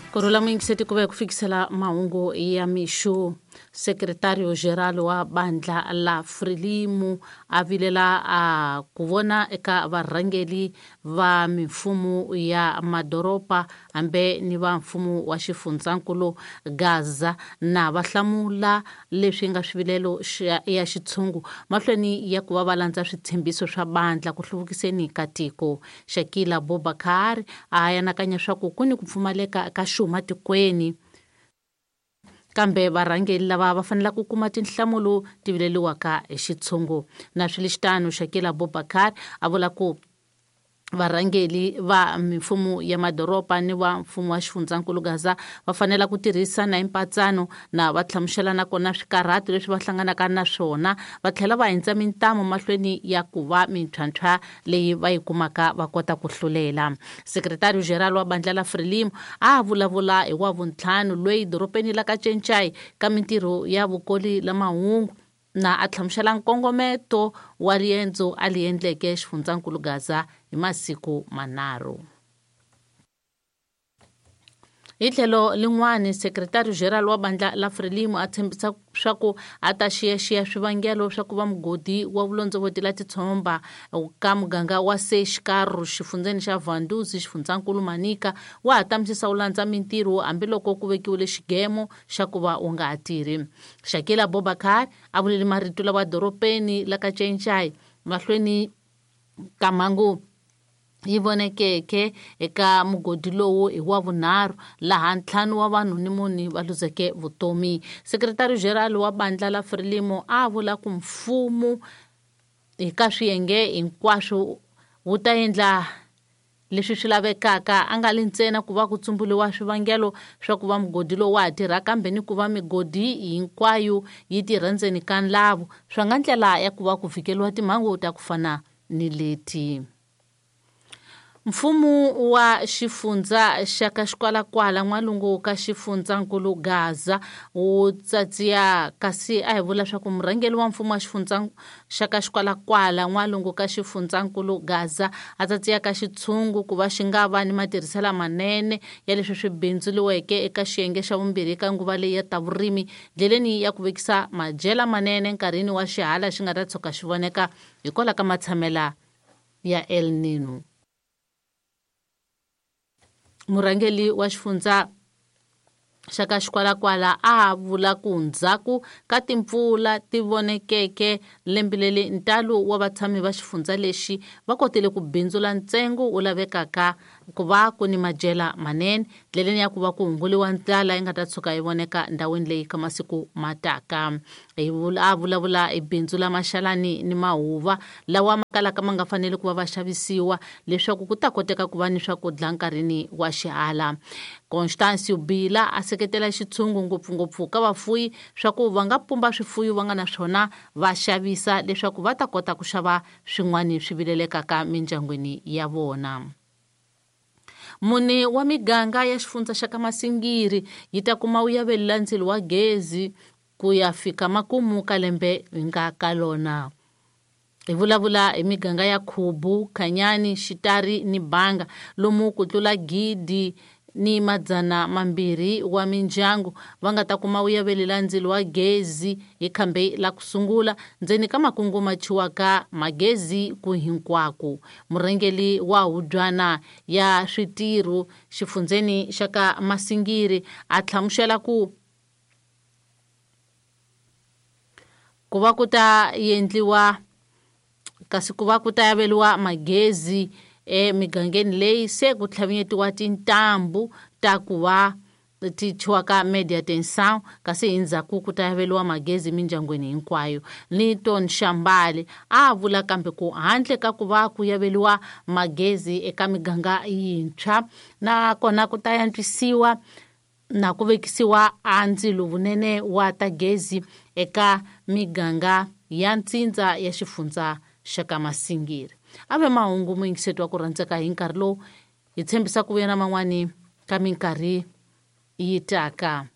Kurhula muyingiseti ku ve ku fikisela mahungu ya mixo. Secretario Geral wa bandla la Frelimo a vilela a ku vona eka varhangeli va mimfumo ya madoroba hambe ni va mfumo wa xifundzankulu Gaza na va hlamula leswi nga swivilelo ya xitshungu mahlweni ya ku va va landza switshembiso swa bandla ku hluvukiseni ka tiko. Shakila Bobakar a anakanya swa ku ku ni ku pfumaleka ka xuma tikweni, kambe varhangeli lava va fanele ku kuma tinhlamulo ti vileliwaka hi xitshungu. Na swi le xitano, Shakila Bobakar a vula ku varhangeli va mimfumo ya madoroba ni va mfumo wa xifundzankulu Gaza va fanela ku tirhisana hi mpatsano na va hlamusela nakona swikarhato leswi va hlanganaka na swona, va tlhela va hindza mintamu mahlweni ya ku va mintlhwantlhwa leyi va yi kumaka va kota ku hlulela. Secretario General wa bandla la Frelimo a vulavula hi wa vuntlhanu loyi dorobeni la ka Cencai ka mintirho ya vukoli la mahungu na a hlamusela nkongometo wa riendzo a li endleke xifundzankulu Gaza hi masiku manharhu. Hi tlhelo lin'wani, Secretario General wa bandla la Frelimo a tshembisa swa ku a ta xiyaxiya swivangelo swa ku va mugodi wa vulondzovoti la titshomba ka muganga wa Seixikaru xifundzeni xa Vanduzi xifundzankulu Manica wa ha tamisisa wu landza mintirho hambiloko ku vekiwile xigemo xa ku va wu nga ha tirhi. Shakila Bobakar a vulele marito lawa doropeni la ka Cencai mahlweni ka mhangu yi vonekeke eka mugodi lowu hi wa vunharhu laha ntlhanu wa vanhu ni mune va luzeke vutomi. Secretary General wa bandla la Frelimo a vula ku mfumo hi ka swiyenge hinkwaswo wu ta endla leswi swi lavekaka, a nga li ntsena ku va ku tsumbuliwa swivangelo swa ku va mugodi lowu wa ha tirha, kambe ni ku va migodi hinkwayo yi tirha ndzeni ka nlavu, swa nga ndlela ya ku va ku vhikeliwa timhangu ta ku fana ni leti. Mfumo wa xifundza xa ka Xikwalakwala n'walungu ka xifundzankulu Gaza wu tsatsiya, kasi a hi vula swa ku murhangeri wa mfumo wa xifundza xa ka Xikwalakwala n'walungu ka xifundzankulu Gaza a tsatsiya ka xitshungu ku va xi nga va ni matirhiselo manene ya leswi swi bindzuriweke eka xiyenge xa vumbirhi ka nguva leyi ya ta vurimi ndleleni ya ku vekisa madyela manene nkarhini wa xihala xi nga ta tshuka xi voneka hikwalaho ka matshamela ya El Nino. Murhangeri wa xifundza xa ka Xikwalakwala a vula ku ndzhaku ka timpfula ti vonekeke lembe leri ntalo wa vatshami va xifundza lexi va kotile ku bindzula ntsengo wu lavekaka ku va ku ni madyela manene ndleleni ya ku va ku hunguliwa ndlala yi nga ta tshuka yi voneka ndhawini leyi ka masiku ma taka. A vulavula hi bindzu la maxalani ni mahuva lawa ma kalaka ma nga faneli ku va va xavisiwa leswaku ku ta koteka ku va ni swakudya nkarhini wa xihala. Constancio Bila a seketela xitshungu ngopfungopfu ka vafuyi swa ku va nga pumba swifuyo va nga na swona va xavisa leswaku va ta kota ku xava swin'wana swi vilelekaka mindyangwini ya vona. Mune wa miganga ya xifundza xa ka Masingiri yi ta kuma wu yavelela ndzilo wa gezi ku ya fika makumu ka lembe hi nga ka lona. Hi vulavula hi miganga ya Khubu, Khanyani, Xitari ni Banga lomu ku tlula 1200 wa mindyangu va nga ta kuma wu yavelela ndzilo wa gezi hi khambe la ku sungula ndzeni ka makungu ma chiwaka magezi ku hinkwako. Murhangeri wa hubyana ya switirho xifundzeni xa ka Masingiri a hlamusela ku ku va ku ta endliwa kasi ku va ku ta yaveliwa magezi emigangeni leyi se ku tlhavinyetiwa tintambu ta ku va ti thyiwaka media tension, kasi hi ndzhaku ku ta yaveliwa magezi mindyangwini hinkwayo. Linton Shambali a vula kambe ku handle ka ku va ku yaveliwa magezi eka miganga yintshwa nakona ku ta antswisiwa na ku vekisiwa a ndzilo vunene wa ta gezi eka miganga ya ntsindza ya xifundza xa ka Masingiri. A ve mahungu muyingiseti wa ku rhandzeka hi nkarhi lowu hi tshembisa ku vuya na man'wani ka minkarhi yi taka.